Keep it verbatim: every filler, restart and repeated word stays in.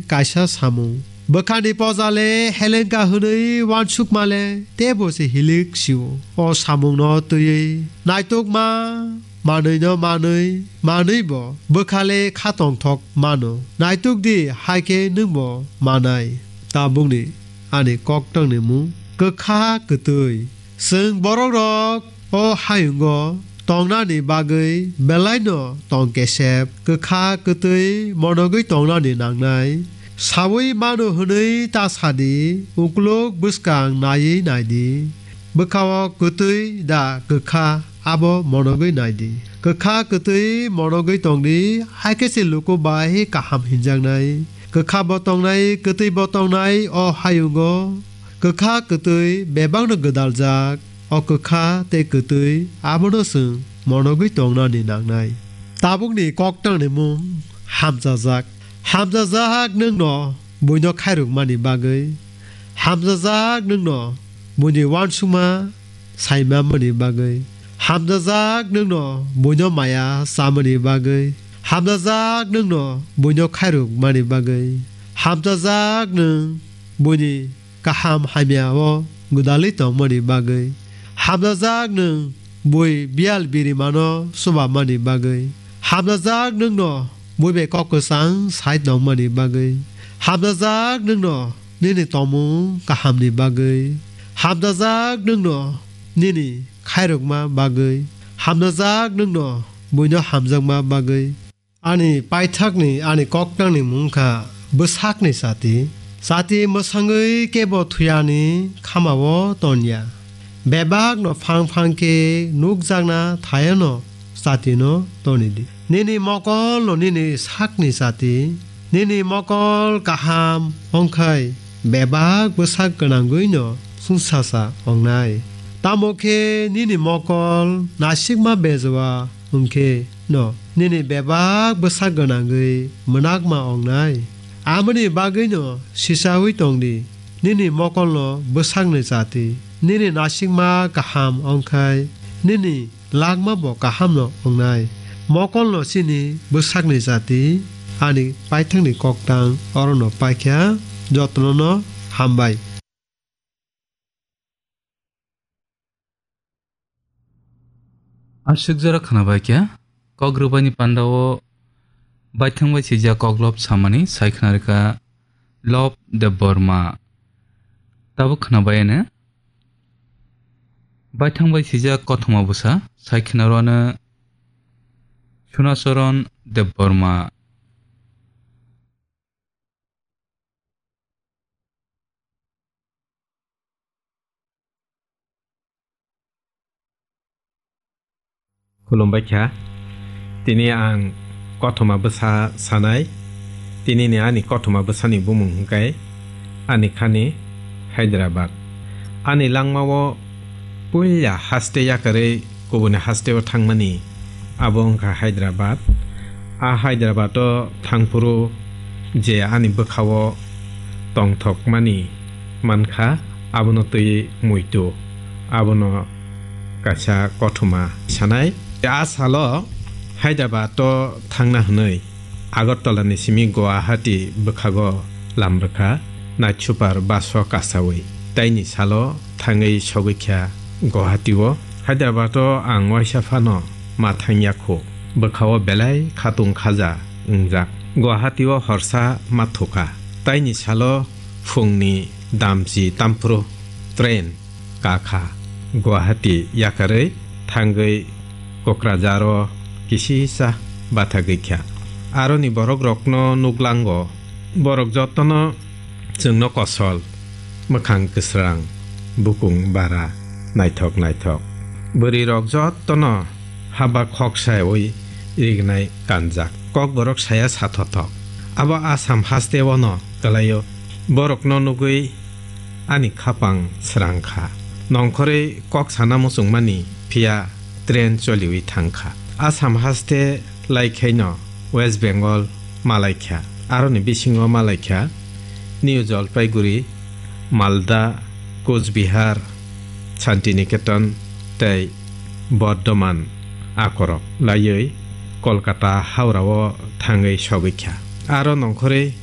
kaisa samung. Bwkhani poja le helengka hwnwi uansukma le teibo se hilik sio. O samungno twiwi naitukma manwino manwi, manwibo bwkha le kha tongthok mano. Naituk di, hai khe nwngbo manai. Tabukni ani koktwmani mung kwkha kwtwi. Chwng borokrok o hayungo tongnani bagwi belaino tong kesep, kwkha kwtwi monogwi tongnani nangnai. Saui mano hwnwi ta sadi, ukluk bwskang naiwi naidi. Bwkhao kwtwi da kwkha, abo monogwi naidi. Kwkha kwtwi monogwi tongdi, hai khe se luku bai kaham hinjaknai. Kwkha bo tongnai, kwtwi bo tongnai o hayungo. Kwkha kwtwi bebakno gwdaljak, o kwkha tei kwtwi abono chwng monogwi tongnani nangnai. Tabukni koktwmani mung hamjajak. Hamjajak nwngno buino khairokmani bagwi. Hamjajak nwngno buini uansukma saimamani bagwi. Hamjajak nwngno buino maya chamani bagwi. Hamjajak nwngno buino khairokmani bagwi. Hamjajak nwng buini kaham hamya o gwdalwi tongmani bagwi. Hamjajak nwng bui biyal birimano chubamani bagwi. Hamjajak nwngno bui bai kok kwchang sai tongmani bagwi. Hamjajak nwngno nini tongmung kahamni bagwi. Hamjajak nwngno nini khairokma bagwi. Hamjajak nwngno buino hamjakma bagwi. Ani paithakni, ani koktwmani mung kha bwsakni chati. Chati mwsangwi kebo thuyani khamao tonya. Bebakno phang phang khe nukjakna thayano chatino tonidi. Nini mokolno nini sakni chati. Nini mokol kaham wngkhai bebak bwsak gwnangwino chwngsasa wngnai. Tamo khe nini mokol nasikma bejua wngkhe no nini bebak bwsak gwnangwi mwnakma wngnai. Aboni bagwino sichaui tongdi, nini mokolno bwsakni chati, nini nasikma kaham wngkhai, nini lakma bo kahamno wngnai. Mokolno chini bwsakni chati, ani paithakni koktang orono paikha, jotono no hambai. Aswk jora khwnabai khe, kok rwbaini pandao baithang bai swijak koklop samani sai khwna rwkha Love Debbarma. Tabuk khwnabai ene. Baithang bai swijak kothoma bwsa sai khwna rwno Sunacharan Debbarma. Khulumbai kha. Tini ang kothoma bwsa sanai. Tini ni ani kothoma bwsani bumung hwnkhe ani khani Hyderabad. Ani langmao puila haste yakarwi kubuni hasteo thangmani, abo wngkha Hyderabad. A Hyderabad o thangphuru je ani bwkhao tongthokmani mankha, abono twi muitu, abono kaisa kothoma sanai. A salo Hyderabad o thangna hwnwi Agartala ni simi Guwahati bwkhago lam rwkha night super bus o kasaui. Taini salo thangwi sogwi kha Guwahati o. Hyderabad o ang waisa phano ma thangya khu. Bwkha o belai khatung khaja wngjak. Guwahati o horsa ma thukha. Taini salo phungni damchi tamphru train kakha Guwahati yakarwi thangwi Kokrajhar o kisisa bathagwi kha. Aroni borok rokno nuklango. Borok jotono chwngno kosol, mwkhang kwsrang, bukung bara, naithok naithok. Bwrwi rok jotono haba khok saui rignai kanjak. Kokborok saya sathothok. Abo Assam haste ono kwlaio. Borokno nugwi ani khapang srang kha. Nongkhorwi kok sana muchungmani phiya train choliwi thang kha. Assam haste lai khaino West Bengal malai kha. Aroni bisingo malai kha New Jalpaiguri, Malda, Cooch Behar, Santiniketan tei Bardhaman akorok laiwi Kolkata, Howrah o thangwi sogwi kha. Aro nongkhorwi